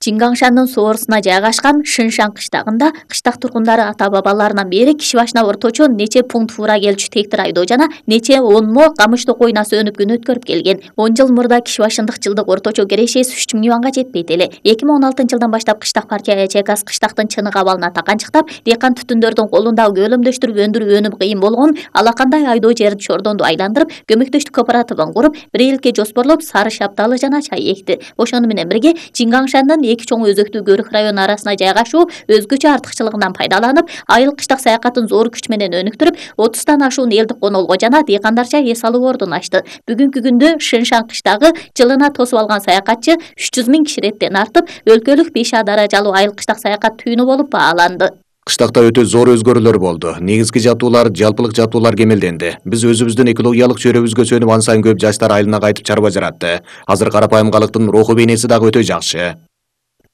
Чингаңшандын соорусуна жайгашкан Шыншан кыштагында кыштак тургундары ата-бабаларынан бери киши башына орточо нече пункт фура келчү тектир айдоо жана нече онмо камыш токойуна сөнүп күн өткөрүп келген. 10 жыл мурда киши башындык жылдык орточо керешеси 3000 юанга жетпейт эле. 2016-жылдан баштап кыштак партия ЯЧК кыштактын чынык абалына таканчыктап, дыйкан түтүндөрдүн колундагы көлөмдөштүрүп өндүрүп өнүп кыйын болгон алакандай айдоо жерди чордонду айландырып, көмөктөштүк кооперативин куруп, 1 элке жоспорлоп сары шапталы жана чай экти. Ошону менен бирге Чингаңшандын эки чоң өзөктүү көрүк району арасына жайгашуу өзгөчө артыкчылыгынан пайдаланып, айыл кыштак саякатын зор күч менен өнүктүрүп, 30тан ашуун элдик конолго жана дыйкандарча эс алуу ордун ачты. Бүгүнкү күндө Шыншан кыштагы жылына тосуп алган саякатчы 300 000 киши реттен артып, өлкөлүк 5А даражалуу айыл кыштак саякат түйүнү болуп бааланды. Кыштакта өтө зор өзгөрүүлөр болду. Негизги жабдуулар, жалпылык жабдуулар кемелденди. Биз өзүбүздүн экологиялык чөйрөбүзгө сөнүп, ан сайын көп жаштар айылына кайтып чарба жаратты. Азыр карапайым калктын руху бейнеси дагы өтө жакшы.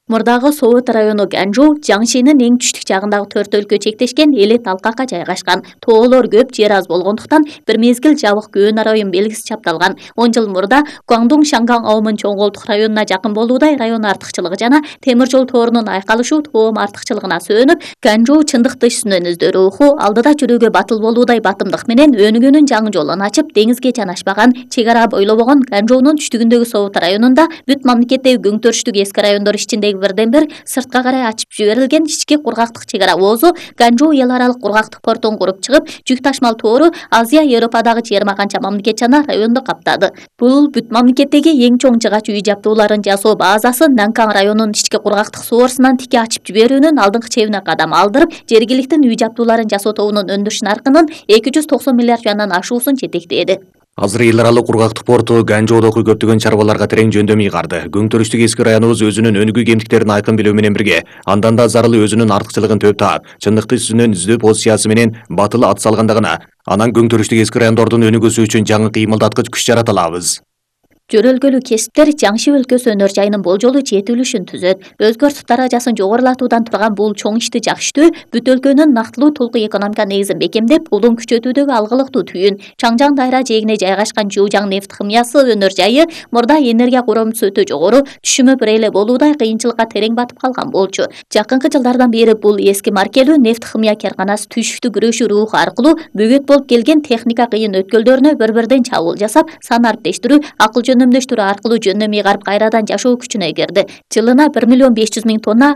Мурдагы Совут району Ганжу Жаңшинин эң түштүк жагындагы 4 өлкө чектешкен эле талкакка жайгашкан. Тоолор көп, жер аз болгондуктан бир мезгил жабык көөн район белгиси чапталган. 10 жыл мурда Гуандун Шанган аумун чоң колдук районуна жакын болуудай район артыкчылыгы жана темир жол торунун айкалышу тоом артыкчылыгына сөнүп, Ганжу чындыкты үстүнөн издөө руху, алдыда жүрүүгө батыл болуудай батымдык менен өнүгүүнүн жаңы жолун ачып, деңизге жанашпаган, чек ара бойлобогон Ганжунун түштүгүндөгү Совут районунда бүт мамлекеттеги көңтөрүштүк эски райондор ичиндеги бирден бир сыртка карай ачып жиберилген ички кургактык чек ара оозу Ганжу эл аралык кургактык портун куруп чыгып, жүк ташмал тоору Азия, Европадагы 20 канча мамлекет жана районду каптады. Бул бүт мамлекеттеги эң чоң жыгач үй жабдууларын жасоо базасы Нанкан районунун ички кургактык соорусунан тики ачып жиберүүнүн алдыңкы чебине кадам алдырып, жергиликтин үй жабдууларын жасоо тобунун өндүрүш наркынын 290 миллиард юандан ашуусун жетектеди. Азыр эл аралык кургактык порту Ганжуудагы көптөгөн чарбаларга терең жөндөмүй карды. Көңтөрүштүк эски районубуз өзүнүн өнүгүү кемтиктерин айкын билүү менен бирге, андан да зарылы өзүнүн артыкчылыгын төп таап, чындыкты үстүнөн издөө позициясы менен батыл ат салгандыгына, анан көңтөрүштүк эски райондордун өнүгүүсү үчүн жаңы кыймылдаткыч күч жарата алабыз. Жөрөлгөлүү кесиптер Жаңши өлкөсү өнөр жайынын болжолу жетилишин түзөт. Өзгөртүп даражасын жогорулатуудан турган бул чоң ишти жакшытуу бүт өлкөнүн нактылуу толук экономика негизин бекемдеп, улум күчөтүүдөгү алгылыктуу түйүн. Чаңжаң дайра жээгине жайгашкан Жуужаң нефт химиясы өнөр жайы мурда энергия коромусу өтө жогору, түшүмү бир эле болуудай кыйынчылыкка терең батып калган болчу. Жакынкы жылдардан бери бул эски маркелүү нефт химия карканасы түйшүктүү күрөшүү руху аркылуу бөгөт болуп келген техника кыйын өткөлдөрүнө бір-бірден чабуул жасап, сан арптештирүү, акыл жөнөмдөштүрүү аркылуу жөндөмүй карып кайрадан жашоо күчүнө кирди. Жылына 1 500 000 тонна